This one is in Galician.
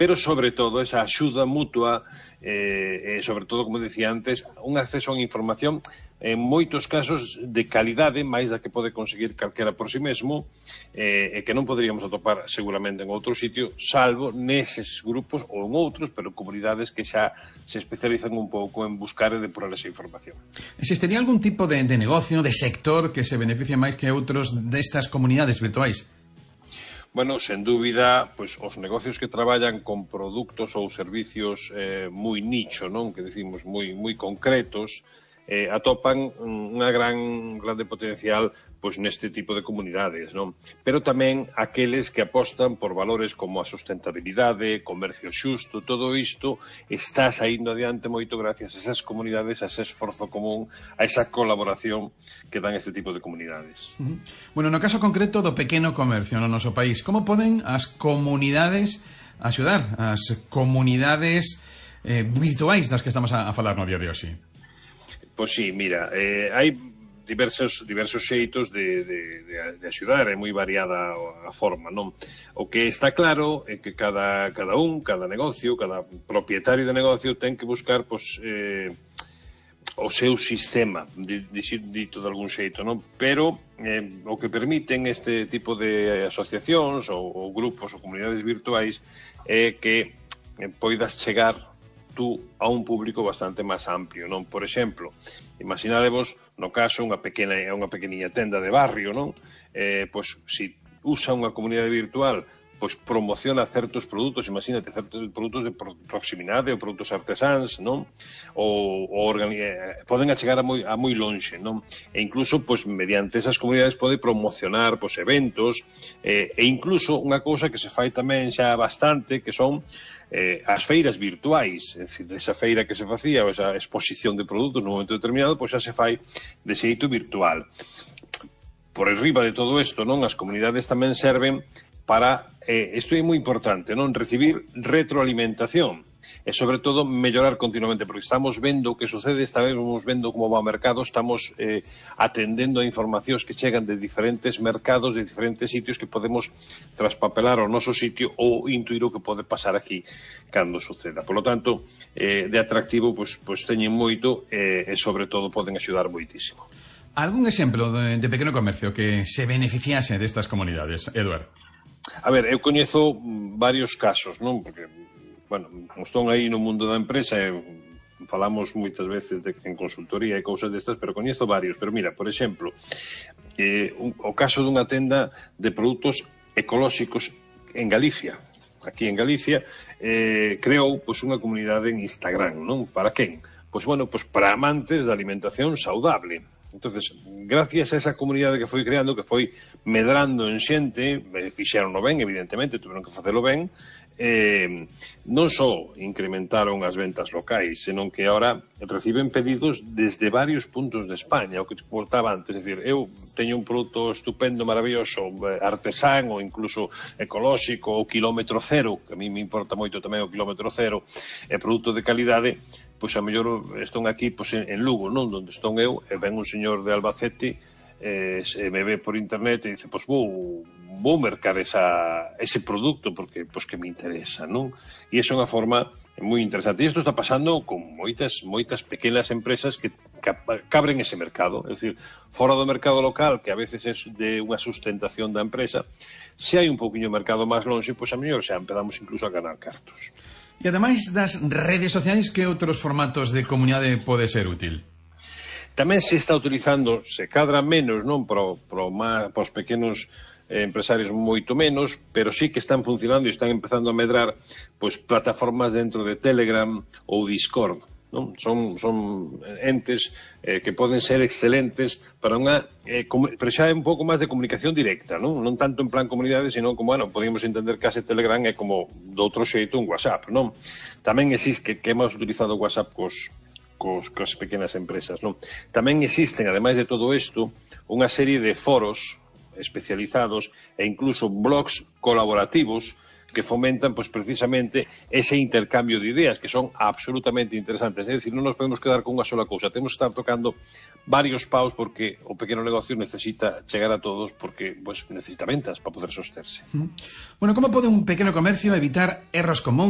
pero sobre todo esa axuda mutua, sobre todo, como decía antes, un acceso a información en moitos casos de calidade, máis da que pode conseguir calquera por si mesmo, e que non poderíamos atopar seguramente en outro sitio, salvo neses grupos ou en outros, pero comunidades que xa se especializan un pouco en buscar e depurar esa información. Existiría algún tipo de negocio, de sector que se beneficie máis que outros destas comunidades virtuais? Bueno, sen dúbida, pois os negocios que traballan con produtos ou servicios moi nicho, non? Que decimos moi concretos, atopan unha grande potencial pois neste tipo de comunidades, non? Pero tamén aqueles que apostan por valores como a sustentabilidade, comercio xusto, todo isto está saindo adiante moito gracias a esas comunidades, a ese esforzo común, a esa colaboración que dan este tipo de comunidades. Bueno, no caso concreto do pequeno comercio no noso país, como poden as comunidades axudar as comunidades virtuais das que estamos a falar no día de hoxe? Pois sí, mira, hai diversos xeitos de axudar, é moi variada a forma, non? O que está claro é que cada negocio, cada propietario de negocio ten que buscar, pois, o seu sistema, dito de algún xeito, non? Pero o que permiten este tipo de asociacións ou grupos ou comunidades virtuais é que poidas chegar tú a un público bastante máis amplio, non? Por exemplo, imaginadevos, no caso, unha pequeniña tenda de barrio, non? Pois, se usa unha comunidade virtual, pois promociona certos produtos, imagínate, certos produtos de proximidade ou produtos artesáns, non? Poden achegar a moi lonxe, non? E incluso, pois, mediante esas comunidades pode promocionar, pois, eventos, e incluso unha cousa que se fai tamén xa bastante, que son as feiras virtuais, é dicir, esa feira que se facía, ou esa exposición de produtos nun momento determinado, pois xa se fai de xeito virtual. Por arriba de todo isto, non? As comunidades tamén serven para, isto é moi importante, non? Recibir retroalimentación e, sobre todo, mellorar continuamente, porque estamos vendo o que sucede, estamos vendo como va o mercado, estamos atendendo a informacións que chegan de diferentes mercados, de diferentes sitios que podemos traspapelar ao noso sitio ou intuir o que pode pasar aquí cando suceda. Por lo tanto, de atractivo, pois teñen moito e, sobre todo, poden axudar moitísimo. Algún exemplo de pequeno comercio que se beneficiase destas comunidades, Eduard? A ver, eu coñezo varios casos, non? Porque, bueno, estou aí no mundo da empresa e falamos moitas veces en consultoría e cousas destas, pero coñezo varios. Pero mira, por exemplo, o caso dunha tenda de produtos ecolóxicos en Galicia. Aquí en Galicia creou pois unha comunidade en Instagram, non? Para quen? Pois, bueno, pois para amantes da alimentación saudable. Entonces, gracias a esa comunidade que foi creando, que foi medrando en xente, fixeron ben, evidentemente, tuveron que facelo ben, non só incrementaron as ventas locais, senón que ahora reciben pedidos desde varios puntos de España, o que te contaba antes, é dicir, eu teño un produto estupendo, maravilloso, artesán ou incluso ecolóxico ou kilómetro cero, que a mí me importa moito tamén o kilómetro cero, é produto de calidade, pois a mellor estón aquí pois, en Lugo, non? Donde estou eu, e ven un señor de Albacete, se me ve por internet e dice, pois vou mercar ese produto porque pois que me interesa, non? E iso é unha forma moi interesante. E isto está pasando con moitas pequenas empresas que abren ese mercado, é dicir, fora do mercado local, que a veces é de unha sustentación da empresa, se hai un pouquiño de mercado máis longe, pois a mellor xa empezamos incluso a ganar cartos. E ademais das redes sociais, que outros formatos de comunidade pode ser útil? Tamén se está utilizando, se cadra menos, non, para os pequenos empresarios moito menos, pero sí que están funcionando e están empezando a medrar pois plataformas dentro de Telegram ou Discord, non? Son entes que poden ser excelentes para unha pero xa é un pouco máis de comunicación directa, non tanto en plan comunidade, sino como, bueno, podemos entender que ase Telegram é como de outro xeito un WhatsApp, non? Tamén existe que hemos utilizado WhatsApp cos pequenas empresas, non? Tamén existen, ademais de todo isto, unha serie de foros especializados e incluso blogs colaborativos que fomentan, pois, precisamente ese intercambio de ideas que son absolutamente interesantes. É dicir, non nos podemos quedar con unha sola cousa, temos que estar tocando varios paus porque o pequeno negocio necesita chegar a todos porque, pois, necesita ventas para poder sosterse. Bueno, como pode un pequeno comercio evitar erros comuns